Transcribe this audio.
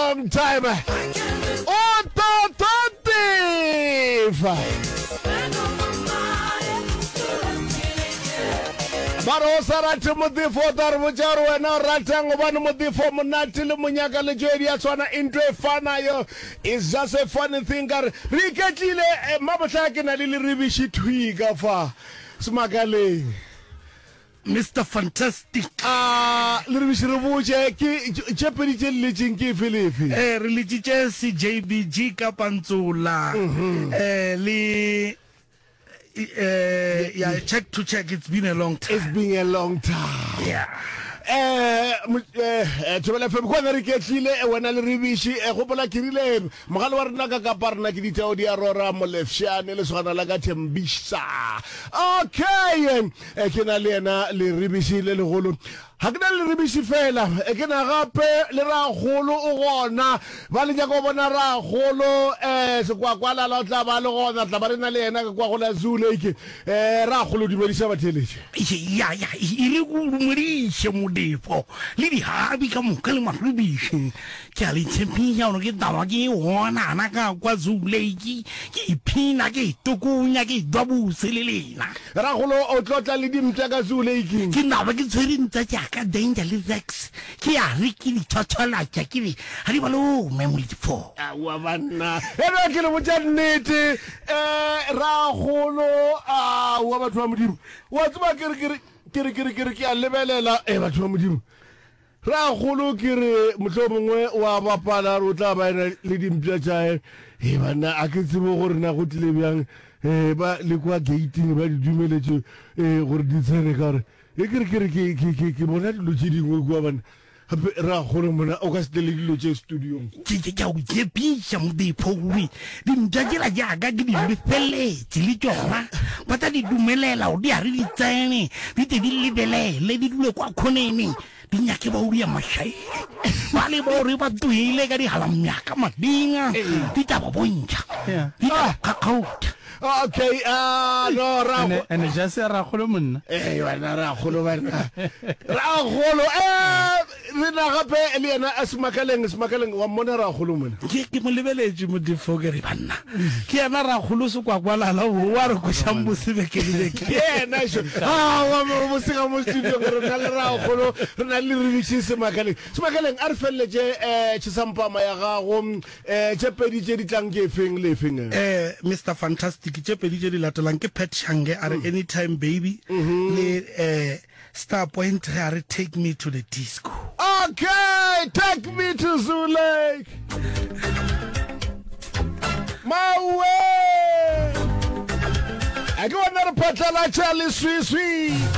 long time. O tatatefa. Ba re o sa rate modifo o tla re botša gore wena o ratang gobane modifo monate le monyaka le tšoe di a tshwana into e fanayo is just a funny thing ka re re iketlile eh, mmabohla ke na le leribiši thwi ka fa semakaleng Mister Fantastic. A Leribiši re botše, ke tše pedi tše le letšeng ke efe le efe? Eh, re letšitše CJBG ka Pantsola, eh, le eh, ya check to check, it's been a long time. It's been a long time. Yeah. Eh, eh, eh, Thobela FM, kwana re iketlile, eh, wena le Ribiši, eh, gopola ke rile mogale wa rena ka kapa rena ke ditao di a rora molefšane lesogana la ka Thembisa. Okay, E ke na le yena leribiši le legolo. Ga ke na le leribiši fela, e ke na gape le ragolo o gona. Ba le nyaka go bona ragolo, um Sekwakwalala o tla ba le gona, tla ba re na le yena ka kwa go la Zoo Lake. Um ragolo, dumediša batheeletši. Ya, ya, e re ko dumediše Modefo le dihabi ka moka le maribiši. Ke a le tshepiša gore ke taba ke onana ka kwa Zoo Lake, ke iphina, ke itokonya, ke idwa bose le lena. Ragolo o tlo tla le dimpša ka Zoo Lake. Ke naba ke tshwere ntša tša ka Danger le Rex, ke a re ke di thwathwalatša ke re ga di ba lome Molefo. Aowa banna, e re ke le botša nnete, um Ragolo, aowa batho ba Modimo, wa tseba ke re ke re ke re ke re ke re ke a lebelela, e batho ba Modimo, Ragolo ke re mohlomongwe o a bapala re o tla ba ena le dimpša tšae. He banna a ke tsebe gore na go tlile bjang eh, ba le kwa gating ba di dumeletše eh, gore di tsene ka gore e ke re ke re ke ke ke ke bona dilo tše dingwe kua banna. Gape ragolo mona o ka se tle le dilo tše studiong. Ke ke ke a go tshepiša Modipho gore dimpša tšela jaaka ke di lefeletše le tšona ba tla di dumelela gore di a re di tsene di tle di lebelele di dule kwa khoneng di nyake ba uria mašaedi ba le ba gore ba tlohile ka digalamyaka madinga di tla ba bontšha di tla ba kgakgautha. Okay, ah no ra Ene ene ja se ragolo monna. Eh wena ragolo wena. Ragolo eh re na gape le yena a Semakaleng Semakaleng wa mmona ragolo mona. Ke ke mo lebeletše Modifo ke re banna ke yena ragolo sekwakwalala o wa re kwešang bose beke le beke. Ke yena šo. Ah wa mo bose ga mo studio re na le ragolo re na le Ribiši Semakaleng. Semakaleng a re feleletše eh Chisampama ya gago eh tše pedi tše di tlang ke efeng le efeng? Eh Mister Fantastic tše pedi tše di latelang ke Pat Shange a re anytime baby le eh Star Point ge a re take me to the disco. Okay, take me to Zoo Lake. Mawe! A ke bona re phatlalatša leswiswi.